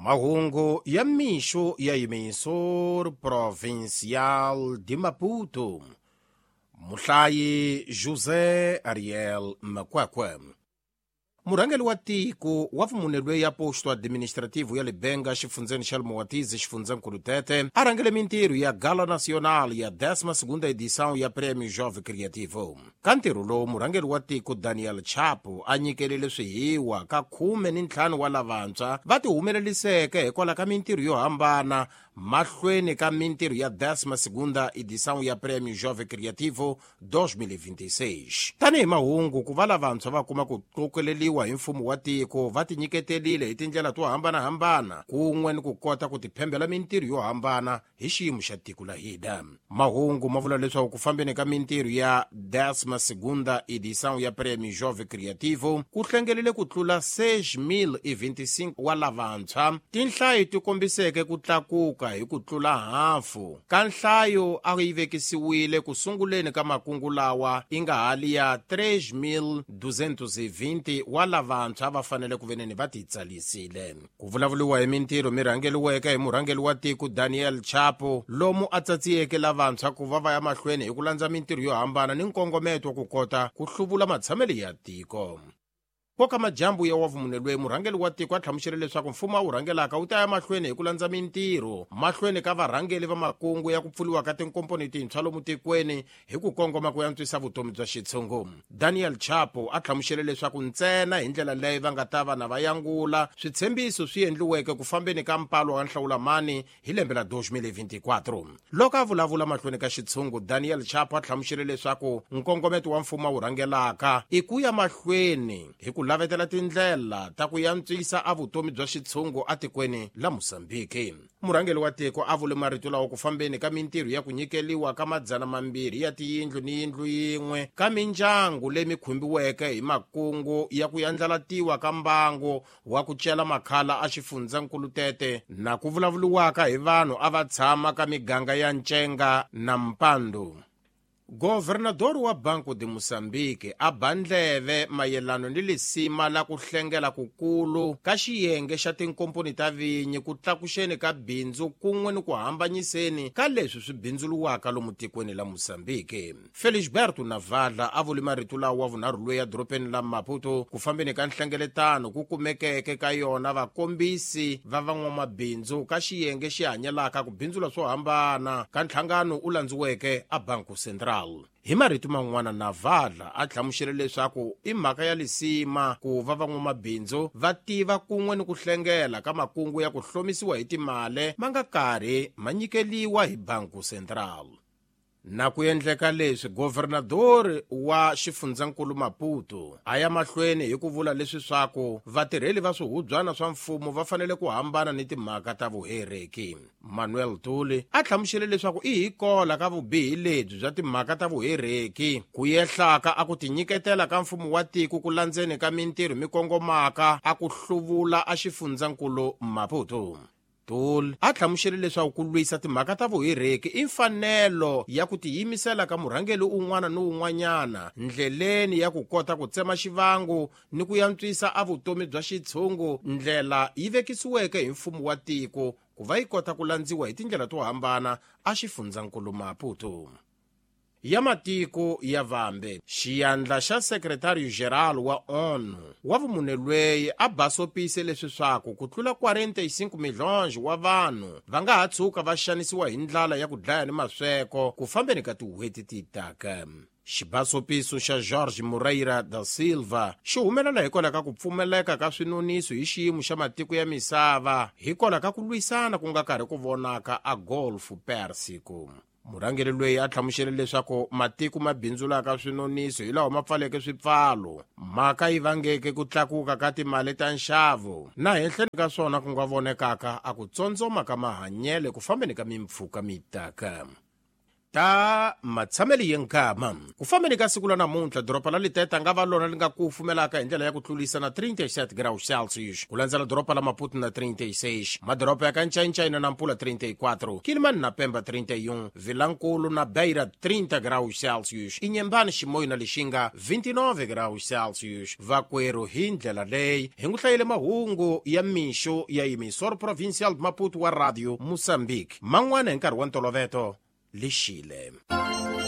Mahungu ya mixo ya Emissor Provincial de Maputo. Muhlayi José Ariel Makwakwe. Murhangeri wa tiko wa vumunelwe ya posto administrativo ya Libenga xifundzeni xa Lumuwatizi xifundzankulu Tete a rhangele mintirho ya Gala Nacional ya 12ª edição ya Prêmio Jovem Criativo. Ka ntirho lowu murhangeri wa tiko Daniel Chapo a nyikelele swihiwa ka 15 wa lavantshwa va tihumeleliseke hikwalaho ka mintirho yo hambana mahlweni ka mintirho ya 12ª edição ya Prêmio Jovem Criativo 2026. Tanihi mahungu ku va lavantshwa va kuma ku qokeleliwa hi mfumo wa tiko va tinyiketelile hi tindlela to hambanahambana kun'we ni ku kota ku tiphembela mintirho yo hambana hi xiyimo xa tiko la hina. Mahungu ma vula leswaku ku fambeni ka mintirho ya 12ª edição ya Prêmio Jovem Criativo ku hlengelele ku tlula 6,025 wa lavantshwa. Tinhlayo ti kombiseke ku tlakuka hi ku tlula hafu ka nhlayo a yi vekisiwile ku sunguleni ka makungu lawa i nga hali ya 3,220 wa lavantshwa va fanele ku veneni va titsalisile. Ku vulavuriwa hi mintirho mi rhangeliweke hi murhangeri wa tiko Daniel Chapo lomu a tsatsiyeke lavantshwa ku va va ya mahlweni hi ku landza mintirho yo hambana ni nkongometo wa ku kota ku hluvula matshamelo ya tiko. Koka majambu ya wavumunelwe murhangeri wa tiko a hlamusele leswaku mfumo a wu rhangelaka wu ta ya mahlweni hi ku landza mintirho mahlweni ka varhangeri va makungu ya ku pfuriwa ka tinkomponi tintshwa lomu tikweni hi ku kongoma ku antswisa vutomi bya xitshungu. Daniel Chapo a hlamusele leswaku ntsena hi ndlela leyi va nga ta va na va yangula switshembiso swi endliweke ku fambeni ka mpalo wa nhlawulamani hi lembe la 2024. Loko a vulavula mahlweni ka xitshungu, Daniel Chapo a hlamusele leswaku nkongometo wa mfumo a wu rhangelaka i ku ya mahlweni hi ku lavetela tindlela ta ku antswisa a vutomi bya xitshungu atikweni la Mozambique. Murhangeri wa tiko a vule marito lawa ku fambeni ka mintirho ya ku nyikeliwa ka 200 ya tiyindlu ni yindlu yin'we ka mindyangu leyi mi khumbiweke hi makungu ya ku yandlalatiwa ka mbangu wa ku cela makhala a xifundzankulu Tete na ku vulavuriwaka hi vanhu a va tshama ka miganga ya Ncenga na Mpandu. Governador wa Banco de Moçambique a ba ndleve mayelano ni lisima la ku hlengela kukulu ka xiyenge xa tinkomponi ta vinyi ku tlakuxeni ka bindzu kun'we ni ku hambanyiseni ka leswi swi bindzuluwaka lomu tikweni la Moçambique. Felisberto Navala a vule marito lawa wa vunharhu loyi edorobeni la Maputo ku fambeni ka nhlengeletano ku kumekeke ka yona vakombisi va van'wamabindzu ka xiyenge xi hanyelaka ku bindzula swo hambana ka nhlangano u landziweke a Banco Central. Hi marito man'wana Navala a hlamusele leswaku i mhaka ya lisima ku va van'wamabindzu va tiva kun'we ni ku hlengela ka makungu ya ku hlomisiwa hi timali ma nga karhi ma nyikeliwa hi Banco Central. Na ku endleka leswi governador wa xifundzankulu Maputo a ya mahlweni hi ku vula leswi swaku vatirheli va swihubyana swa mfumo va fanele ku hambana ni timhaka ta vuhereki. Manuel Tuli a hlamusele leswaku i hikola ka vubihi lebyi bya timhaka ta vuhereki ku yehlaka a ku tinyiketela ka mfumo wa tiko ku landzeni ka mintirho mi kongomaka a ku hluvula a xifundzankulu Maputo. Tuli a hlamusele leswaku ku lwisa timhaka ta vuhereki i mfanelo ya ku tiyimisela ka murhangeri un'wana ni un'wanyana ndleleni ya ku kota ku tsema xivangu ni ku antswisa a vutomi bya xitshungu ndlela yi vekisiweke hi mfumo wa tiko ku va yi kota ku landziwa hi tindlela to hambana a xifundzankulu Maputo. Ya matiko ya vambe xiyandla xa secretario general wa ONU wa vumunelweyi a basopise leswi swaku ku tlula 45 milhonge wa vanhu va nga ha tshuka va xanisiwa hi ndlala ya ku dlaya ni masweko ku fambeni ka tin'hweti ti taka. Xibasopiso xa Jorge Moreira da Silva xi humelela hikwalaho ka ku pfumeleka ka swinoniso hi xiyimo xa matiko ya misava hikwalaho ka ku lwisana ku nga karhi ku vonaka a Golfo Pérsico. Murhangeri loyi a hlamusele leswaku matiko ma bindzulaka swinoniso hi lawa ma pfaleke swipfalo mhaka yi vangeke ku tlakuka ka timali ta nxavo na henhleni ka swona ku nga vonekaka a ku tsondzoma ka mahanyelo ku fambeni ka mimpfhuka mitaka. Ta matshamelo ya nkama. Ku fambeni ka siku la namuntlha, doroba la Liteta nga va lona li nga kufumelaka hi ndlela ya ku tlulisa na 37 graus Celsius, ku landzela doroba la Maputo na 36, madoroba ya ka Ncayincayina na Nampula 34, Quilimane na Pemba 31, Vilankulu na Beira 30 graus Celsius, Inhambane, Chimoio na Lixinga 29 graus Celsius. Vakwerhu, hi ndlela leyi hi n'wi hlayele mahungu ya mixo ya Emissor Provincial de Maputo wa Radio Moçambique. Man'wana hi nkarhi wa ntoloveto, lixile.